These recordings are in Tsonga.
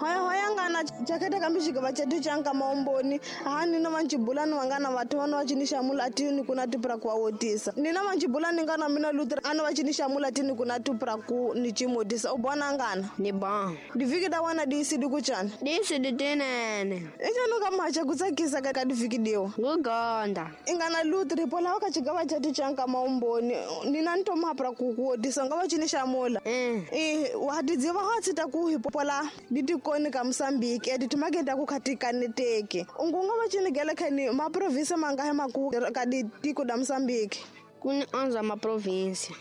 Hoya ngana chaketa kambi xigava chetu cha nkamaomboni aha nina vanchibula ni vangana vathu vana va cini xamula atini kuna tipra ku wotisa nina vanchibula ni ngana mina Luther ana va cini xamula atini kuna tipra ku ni chimotisa u bona ngana ni ba diviki da wana disi dikuchana disi ditinene echano ka macha kutsakisa ka diviki diwa ngugonda ingana Luther pola ka xigava chetu cha nkamaomboni nina ntomapra ku kuwotisa nga va cini xamula wa tidziva ha tshita ku hipola ditikoni ka Mozambique editimagenda ku khatikaneteke ungunga va cini gele khani ma province manga maku ka ditiko da Mozambique kuni 11 ma province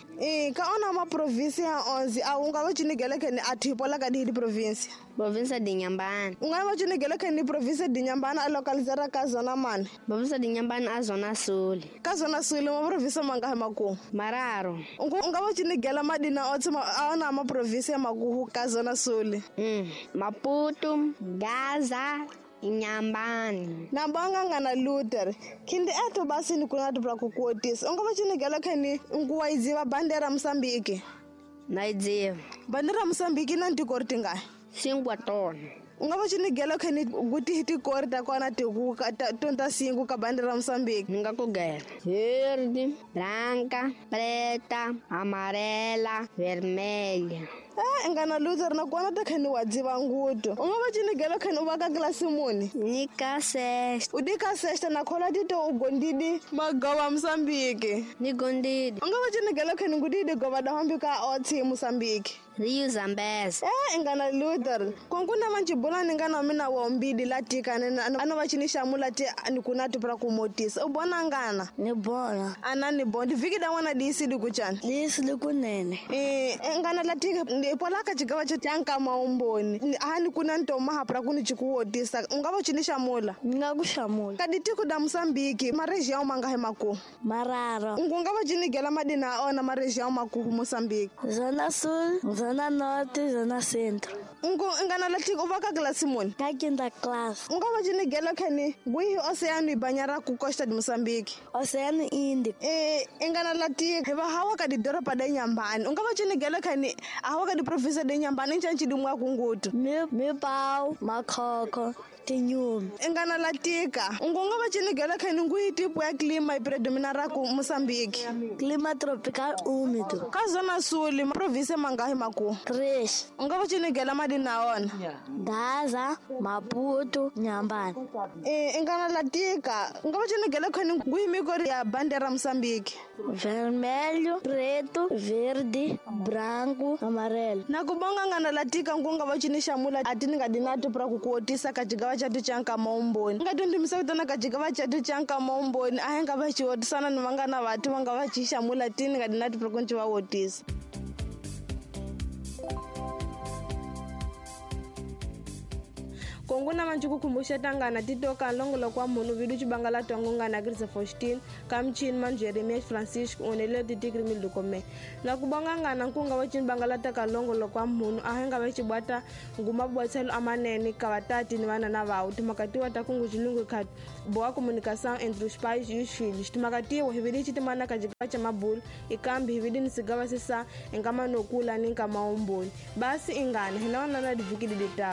ka ona ma province ya 11 a unga va cini gele khani a thipola ka di province province de Inhambane unga va cini gele khani province de Inhambane a localizera ka zona mani province de Inhambane a zona sul ka zona sul ma province manga maku mararo unga va cini gela madina otse a ona ma province ya maku ka zona sul Maputo, Gaza, Inhambane. Na banga ngana Luther khindi eto basi ni kuna tupra kukuotisa unga va cini gela khani nguwa idziva bandera Mozambique na idziva bandera Mozambique na ntikori tingahi 5 tona unga va cini gela khani kuti tikori ta kona tiku tonta 5 ka bandera Mozambique ni nga ku gela verde, branca, preta, amarela, vermelha. Ngana Luther na kona ta khani wa dziva nguto unga va cini gela khani u va ka klasi muni ni ka sexta u di ka sexta na khola tito u gondidi magawa Mozambique ni gondidi unga va cini gela khani ngudidi gova da hambi ka otsi Mozambique Rio Zambezi. Ngana Luther konkuna manchibula ni ngana mina wa mbidi latika ana va cini xamula ti ni kuna tipra kumotisa u bona ngana ni bona ana ni bona viki da wana disi dikuchana disi likunene ngana latika pola ka xigava cha nkamaomboni hani kuna ntoma hapra kuni chikuwotisa unga va cini xamula ni nga ku xamula ka ditiko da Mozambique ma região mangahi maku mararo unga va cini gela madina ona ma região maku Mozambique zona sul, zona norte, zona centro. Ngana latika u va ka klasi muni ka quinta classe unga va cini gela khani ngwihi oceano ibanyara ku costa de Mozambique Oceano Índico. Ngana latika va hawa ka didoropa da Inhambane unga va cini gela khani hawa ka di province de Inhambane nchanchi dimwa kungutu mi pau makhokho tinyumi. Ngana latika ungunga va cini gela khani ngwihi tipo ya clima i predominara ku Mozambique clima tropical úmido ka zona sul province mangahi maku 3 unga va cini gela madina ona Gaza, Maputo, Inhambane. Ngana latika unga va cini gela khani ngwihi mikori ya bandera Mozambique vermelho, preto, verde, branco, amarelo. Na kubonga ngana latika ngunga va cini xamula atini nga dinato pra kukuotisa ka xigava chatu cha nkamaomboni nga tundimisa kutana ka xigava chatu cha nkamaomboni a hi nga va xiwotisana ni vangana vathu va nga va xi xamula tini nga dinato pra ku nci va wotisa. Konguna manchuku kumbusha tangana titoka longolo kwa munu vidu chibangala tongo ngana Grisa Faustin kamchin man Jeremias Francisco onele titikri milukome na kubonga ngana nkunga wachin bangala taka longolo kwa munu ahenga wachibwata nguma bwatselo amanene kavatati ni vana na vau timakatiwa takungu chilungu kat boa comunicação entre os pais e os filhos timakatiwa hividi chitimana kajika cha mabulu ikambi hividi nisigava sisa engama nokula ni nkamaomboni basi ingana hinawana na divikidi dita.